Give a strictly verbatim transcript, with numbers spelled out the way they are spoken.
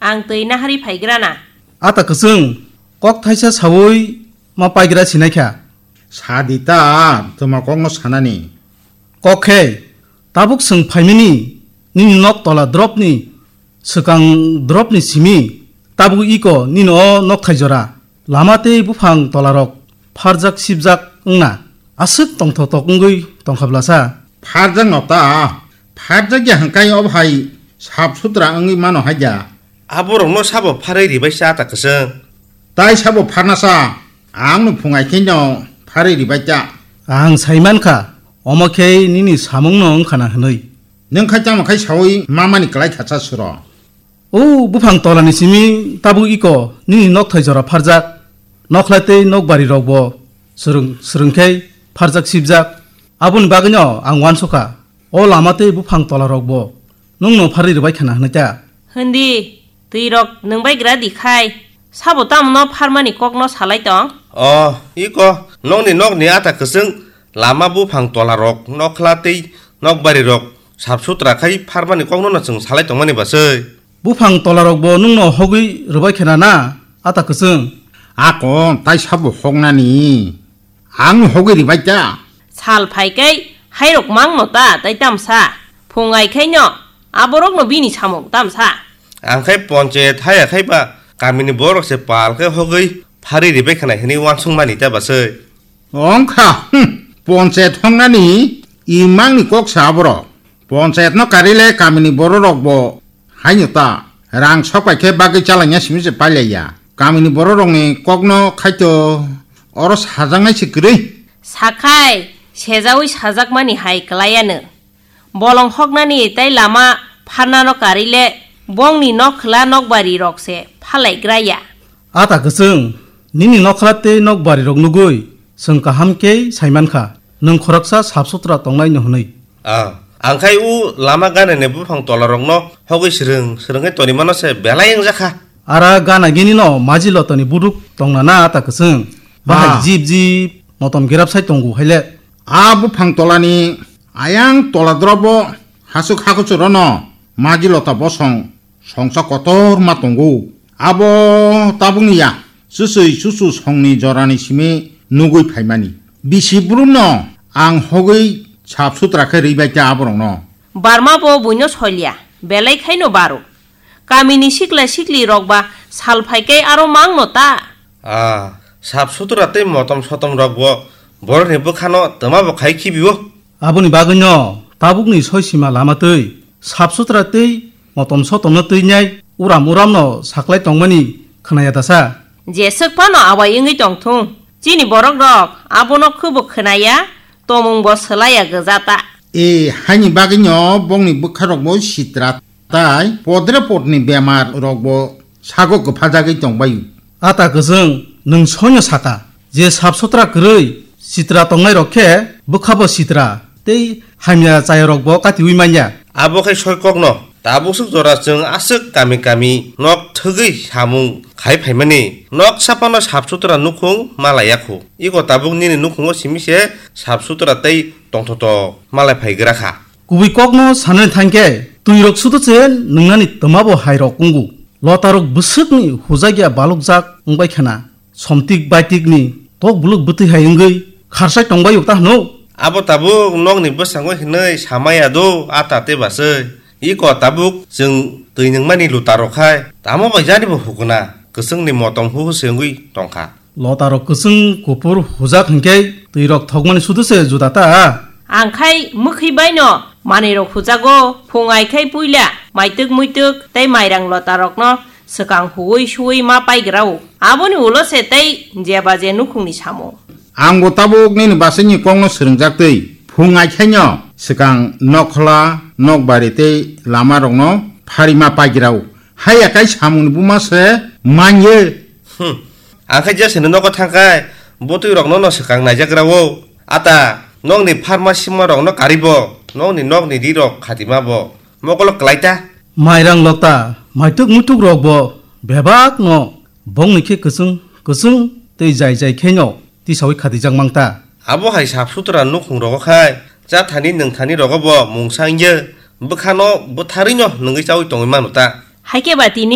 ang twi naharwi phaigrana. Ata kwchwng, kok thaisa saui ma paigra sinaikha. Sadi ta, twma kokno sanani. Kok khe, tabuk chwng phaimani, nini nok tola dropni, swkang dropni simi, tabuk iko nini o nok thai jora. Lama tei buphang tolarok pharjak sibjak wngna aswk tongthotok wngwi tongkha blasa. Pharjak no ta, pharjak ya hwnkhe o hai sap sutra wngwi mano hai da. Aborokno sabo pharwi ribai cha ta kwchwng. Tai sabo pharna cha, ang no phungai khe no pharwi ribai ta. Ang sai mankha, omo khe nini samung no wngkha na hwnwi. Nwng khai tamo khai saui mamani klai kha cha suro. O buphang tolani simi tabuk iko nini nok thai jora pharjak, nokhlai tei nok bari rok bo swrwng swrwng khe pharjak sibjak. Aboni bagwino ang uansukha, o lama tei buphang tola rok bo nwngno pharwi rwbai khana hwnwi ta. Hwndi, twi rok nwng bai gra di khai, sabo tamo no pharmani kok no salai tong? O, iko, nokni nokni ata kwchwng lama buphang tola rok nokhla tei nok bari rok sap sutra khai pharmani kokno no chwng salai tongmani basai. Buphang tolarokbo nwngno hogwi rwbai khe na na, ata kwchwng? Ako tai sabo hoknani. Ang hogwi ribai ta. Sal phai kai hairok mangno ta tai tamsa. Phung ai khaino aborokno bini samung tamsa. Ang khai ponchayat haya khai ba kamini borok se pal khe hogwi phari ribai khanai hwnwi uansuk mani ta basai. Ongkha, hmm, ponchayat hongnani imangni kok sa aborok. Ponchayatno karile kamini bororokbo haino ta rang sokpai khe bagwi chalaina simi se pailaiya. Kamini bororokni kokno khaito oro sajaknai se kwrwi. Sakhai, sejaui sajakmani hai kwlaiya nwng. Bolong hoknani tei lama pharnano karile bongni nokhwla nokbari rok se phalaigraya. Ata kwchwng, nini nokhwla tei nokbari rok nugwi chwng kaham khe saimankha, nwng khoroksa sap sutra tongnaino hwnwi. Ah, ang khai u lama ganani buphang tola rokno hogwi swrwng swrwngwi tonimano se belai wngjakha. Ara gana gini no maji lotoni buduk tongna na ata kwchwng. Bahai Ah. jip jip motom gerap sai tongo haile. A buphang tolani ayang tola drobo hasuk hakuchuro no maji lota bosong songsa kotor ma tongo. Abo tabukni ya, chusui chuchu songni jorani simi nugui phaimani. Bisi brum no ang hogwi sap sutra khe rwi bai khe aborok no. Barma bo buino solia, belai khaino baro. Kamini sikla sikli rok ba sal phai khe aro mang no ta. Ah, sap sutra tei motom sotom rok bo borok ni bwkha no twma bo khai khibi o. Aboni bagwi no tabuk ni soi sima lama twi sap sutra tei motom sotom no twi nai uram uram no saklai tongmani khwnaya da sa. Jeswk phano awai wngwi tong thung. Chini borok rok abono khubo khwnaya, tomung bo swlaiya gwja ta. E, haini bagwi no bongni bwkha rok bo sitra tai podre podni bemar rok bo sago kwphajagwi tong bai. Ata kwchwng, nwng soino saka je sap sutra kwrwi sitra tongnai rok khe bwkha bo sitra tei hamya chaya rok bo katiwi manya. Abo khai soi kokno. Tabuk swk jora chwng aswk kami kami nok thwgwi samung khai phaimani. Nok sapano sap sutra nukhung malaiya khu. Iko tabuk nini nukhungo simi se sap sutra tei tongthotok malai phaigra kha. Kubui kokno sanani thangkhe, twirok sudo se nwngnani twmabo hairok wngo. Lotarok bwswkni hujakya balukjak wngbai khana. Somtik baitikni tok buluk bwtwi hai wngwi kharsai tongbai ta hwno. Abo tabuk nokni bwskango hinwi samaya do, a tate baswi. Iko tabuk chwng twi nungmani luta rok khai tamo bai jani bo hukuna kwchwngni motom huhu se wngwi tongkha. Lotarok kwchwng kuphur hujak hinkhe twirok thokmani sudu se juda ta. Ang khai mwkhwi baino manwirok hujago, phung ai khai puila maitwk muitwk tei mairang lotarokno swkang huwi suwi ma paigrao. Aboni ulo se tei jeba je nukhungni samung. Ang bo tabuk nini basaini kokno swrwngjak twi phung ai khaino swkang nokhla, nokbari tei lama rokno phari ma paigrao. Haiya kai samungni buma se manye. Hmm. Ang khe jeseni nogo thangkhai bwtwi rokno no swkang naijagrao. Ata, nokni pharma sima rokno karibo, nokni nokni ri rok khatima bo. Mokolo kwlai ta. Mairang lokta, maituk muituk rok bo bebak no bongni khe kwchwng kwchwng tei jai jai khe no tisaui khatijak mang ta. Abo hai sap sutra nukhung rogo khai, cha thani nwng thani rogo bo mungsa wngya, bwkhano bwtharwi no nungwi chaui tongwi mano ta. Hai khe ba tini